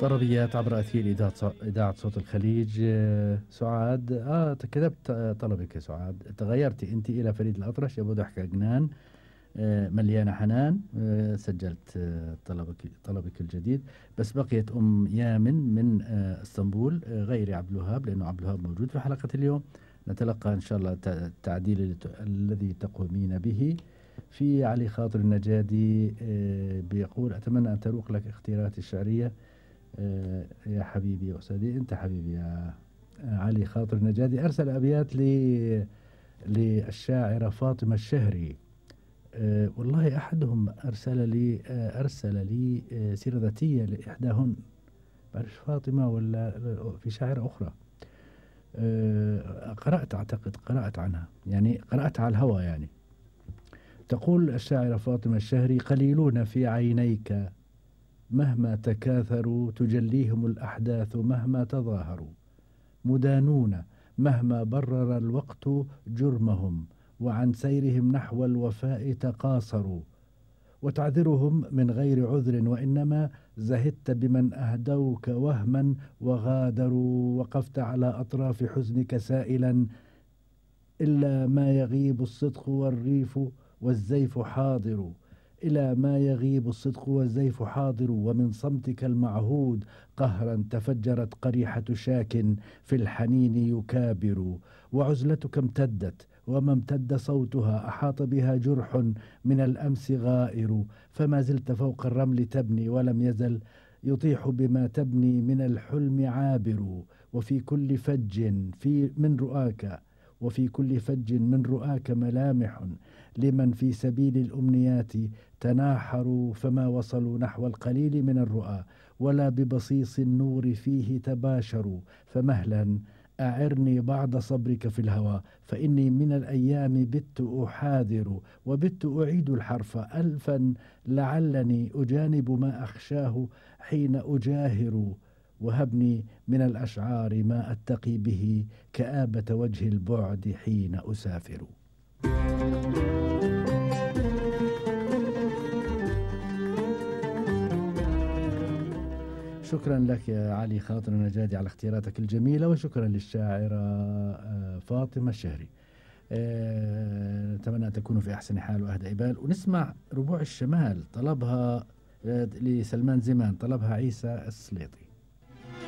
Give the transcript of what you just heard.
طلبيات عبر أثير إذاعة صوت الخليج. سعاد، كتبت طلبك يا سعاد. تغيرتي أنت إلى فريد الأطرش، أبو ضحك عجنان، مليانة حنان. سجلت طلبك الجديد. بس بقيت أم يامن من اسطنبول، غير عبد الوهاب، لأنه عبد الوهاب موجود في حلقة اليوم. نتلقى إن شاء الله التعديل الذي تقومين به. في علي خاطر النجادي بيقول: أتمنى أن تروق لك اختياراتي الشعرية. يا حبيبي يا أستاذي، أنت حبيبي يا علي خاطر النجادي. أرسل أبيات للشاعرة فاطمة الشهري. والله أحدهم أرسل لي سيرة ذاتية لإحداهن، بعرف فاطمة ولا في شاعرة أخرى. قرأت عنها، يعني قرأت على الهوى يعني. تقول الشاعرة فاطمة الشهري: قليلون في عينيك مهما تكاثروا، تجليهم الأحداث مهما تظاهروا، مدانون مهما برر الوقت جرمهم، وعن سيرهم نحو الوفاء تقاصروا، وتعذرهم من غير عذر، وإنما زهدت بمن أهدوك وهما وغادروا، وقفت على أطراف حزنك سائلا: إلا ما يغيب الصدق والريف والزيف حاضر، إلى ما يغيب الصدق والزيف حاضر، ومن صمتك المعهود قهرا تفجرت قريحة شاك في الحنين يكابر، وعزلتك امتدت وما امتد صوتها، أحاط بها جرح من الأمس غائر، فما زلت فوق الرمل تبني، ولم يزل يطيح بما تبني من الحلم عابر، وفي كل فج من رؤاك ملامح لمن في سبيل الأمنيات تناحروا، فما وصلوا نحو القليل من الرؤى، ولا ببصيص النور فيه تباشروا، فمهلا أعرني بعض صبرك في الهوى، فإني من الأيام بت أحاذر، وبت أعيد الحرف ألفا لعلني أجانب ما أخشاه حين أجاهر، وهبني من الأشعار ما أتقي به كآبة وجه البعد حين أسافر. شكرا لك يا علي خاطر النجادي على اختياراتك الجميلة، وشكرا للشاعرة فاطمة الشهري. نتمنى أن تكونوا في أحسن حال وأهدى إبال. ونسمع ربوع الشمال، طلبها لسلمان زمان، طلبها عيسى السليطي.